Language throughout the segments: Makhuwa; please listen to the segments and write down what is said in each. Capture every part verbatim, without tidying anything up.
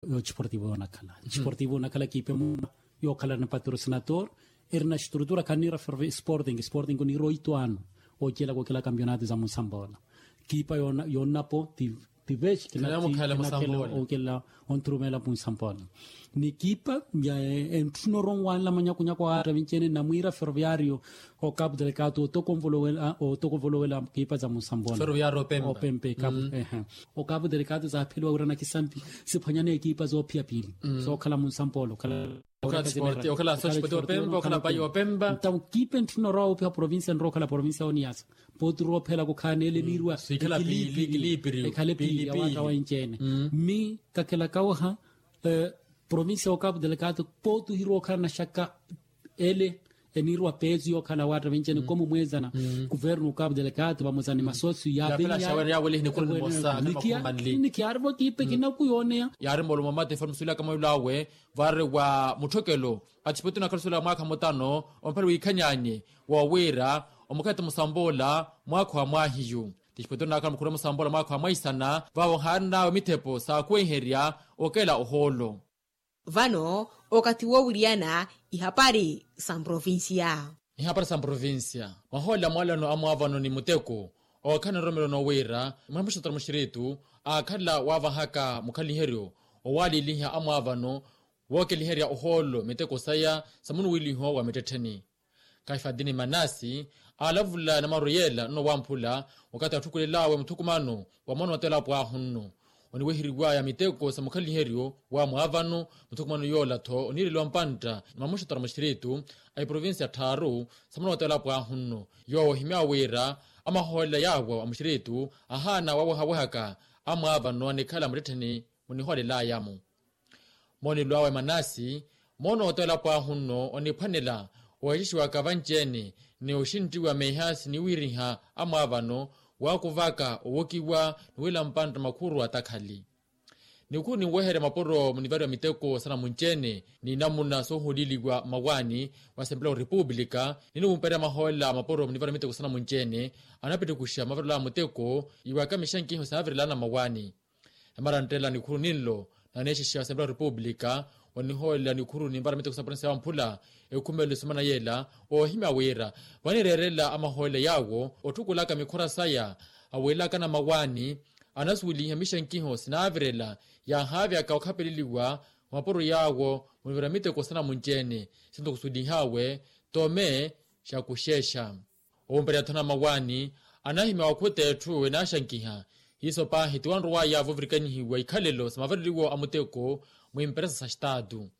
Yo disportivo yonakhala disportivo yonakhala ekipa emuna, yookhala na patrocinator, erina estrutura khaniira ferve sporting sporting oniira oito ano, ocelaka okela kampionato za munsambola. Ekipa yonnapo ti vexi kinakhela okela onthurumela munsambola. Ni ekipa ya entthunoro onwanla manyakunyaku a attavinci ene namwiira ferroviario, okapu delekatu otokonvolowela otokonvolowela ekipa za munsambola. Opempe okapu delekatu zaapheliwa wira nakisampi siphwanyane ekipa zoophiya piili, sookhala munsambola okhala okhala sporti okhala sospoti opempa okhala payi opempa. Ntawo ekipa entthunoro awo ophiha provincia nrookhala provincia oniyasa, pooti roophela kukhaana ele eniiriwa ekiliipiri ekhale piili ya waatta wa enci ene. Mmi kakhelaka waha provincia okapu delekatu pooti ohirowa okhala naxaka ele eniiriwa peesu yookhala waatta vinci ene komu mweezana kuvernu okapu delekatu vamosa ni masosiyu yaavenyaya. Nikiyaarivo ekipa ekinaku yooneya yaari moolumo mate fano musuwelaka mwelo awe, vaari wa mutthokelo athipote onakhala osuwela mwaakha mutano omphale wiikhanyaanye woowiira omukhatta musamboola mwaakha wa mwaahiyu. Tixipotero naakhala mukhuru wa musamboola mwaakha wa mwaisana vaavo haarin'awe mithepo saakhuwenherya okela ohoolo. Vano okathi woowiriyana ihapari sa mprovincia. Ihapari sa mprovincia, mwahoolela mwaalano a mwaavano ni muteko ookhala na nroromelo noowiira mwamuxotoro muxiritu aakhala waavahaka mukhaliheryo owaaliiliha a mwaavano wookeliherya ohoolo miteko saya sa munuwiiliho wa mittettheni. Kaifadini manasi aalavula namaru yeela nno wamphula wakathi atthukulel'awe muthukumano wa moona oteela pwaahu nno oniweheriwaya miteko sa mukhaliheryo wa mwaavano. Muthukumano yoola-tho oniireliwa mpantta ni mamuxotoro muxiritu a iprovincia tthaaru sa moona oteela pwaahu nno yoowo ohimya wira amahoolela yaawo a muxiritu ahaana wawehawehaka a mwaavano anikhala muttettheni munihoolel'aya-mo. Moonelo awe manasi moona oteela pwaahu nno oniphwanela oweexixiwaka vanci-ene ni oxinttiwa meeha siniwiiriha a mwaavano waakuvaka owokiwa ni wiila mpantta makhuru atakhali. Nikhuru ninweherya mapuro munivariwa miteko sanamunci-ene ni namuna soohuliiliwa mmawaani wa asempela wa repupulika ninumperya mahoolela mapuro munivariwa miteko sanamunci-ene anapittukuxa mavarelo a muteko iwaka mixankiho sinaavirelana mmawaani. Emaranttela nikhuru ninlo naneexexa asempela wa repupulika onihoolela nikhuru ninvara miteko sa provincia ya wamphula ekhumelo esimana yeela oohimya wira vanireerela amahoolela yaawo otthukulaka mikhura saya awiilakana mmawaani anasuweliha mixankiho sinaavirela yaahaavyaka okhapeleliwa mapuro yaawo munivira miteko sanamunci-ene sinto khusuwelih'awe tome xakuxexa. Owumperya-tho namawaani anahimya wakhuta etthu enaaxankiha hiiso paahi ti wanrow'aya voovirikanyihiwa ikhalelo sa mavareliwo a muteko mwiimperesa sa xitaatu.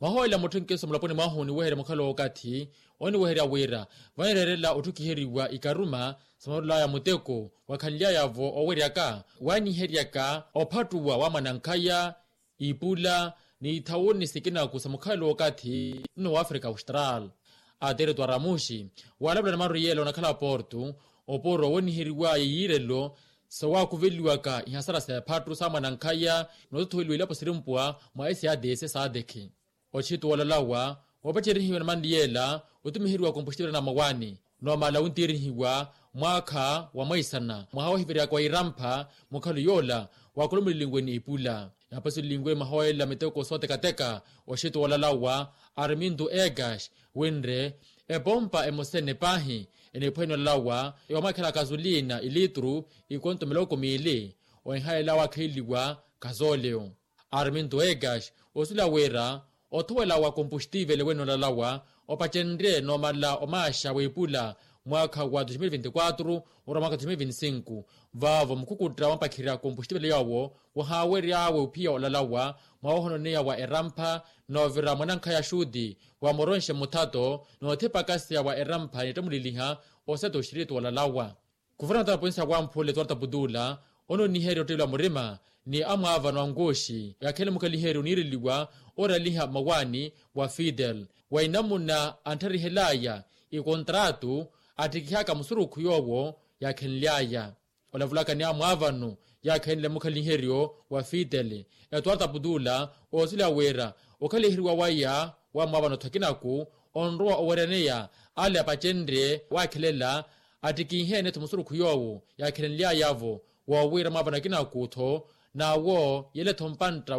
Mahoolela mutthenkeso mulaponi mwahu oniweherya mukhala wookathi oniweherya wira vanireerela otthukiheriwa ikaruma sa mavarelo aya a muteko wakhanly'aya-vo oweryaka wanyiheryaka ophattuwa wa mwanankhaya ipula ni ithawuni sikinaku sa mukhalelo wookathi nno wa afrika austral. Atereto aramuxi waalavula namaru yeela onakhala porto oporo woniheriwaya yiirelo sawaakuveliwaka ihasara s'ephattu sa mwanankhaya nootothoweliwa ilapo sirimpwa mwa sadc sadc. Ochitu wolalawa woopacerihiwa namanli yeela otumiheriwa kompuxtivela na mawaani noomala wuntiirihiwa mwaakha wa mwaisana mwaha wohiveryaka wa irampha mukhalo yoola waakulumulilinwe ni ipula. Yaapasuliliwe mahoolela miteko sootekateka oxeto wolalawa arminto ekax winre epompa emosene paahi eniphwene olalawa yoomwakhela kasulina ilitru ikonto miloko miili ohihalela waakheleliwa kasoleyo. Arminto ekax osuwela wira othowela wa kompuxtivele wene olalawa opacenrye noomala omaaxa w'ipula mwaakha wa dos mil vinti quatro ora mwaakha dos mil vinti cinco vaavo mukhukutta wampakhirya kompuxtivele yoowo wahaawery'awe ophiya olalawa mwawohononeya wa erampha noovira mwanankhaya xuti wa moronxe muthato noothipakaseya wa erampha nittamuliliha oseto oxiritu olalawa. Kuvernatara ponsi ya wamphula etuwarta putula ononiherya ottelwa murima ni amwaavano ankuxi yakhele mukhaliheryo oniireliwa oraliha mmawaani wa fidel wa inamuna anttarihel'aya ikontratu attikihaka musurukhu yoowo yaakhenly'aya. Olavulaka ni amwaavano yaakhenle mukhaliheryo wa fidel etuwarta putula oosuleya wira okhaliheriwa waya wa mwaavano-tho akinaku onrowa oweryaneya ale apacenrye waakhelela attikihe-ene-tho musurukhu yoowo yaakhelenly'aya-vo woowira mwaavano akinaku-tho n'awo yele-tho mpantta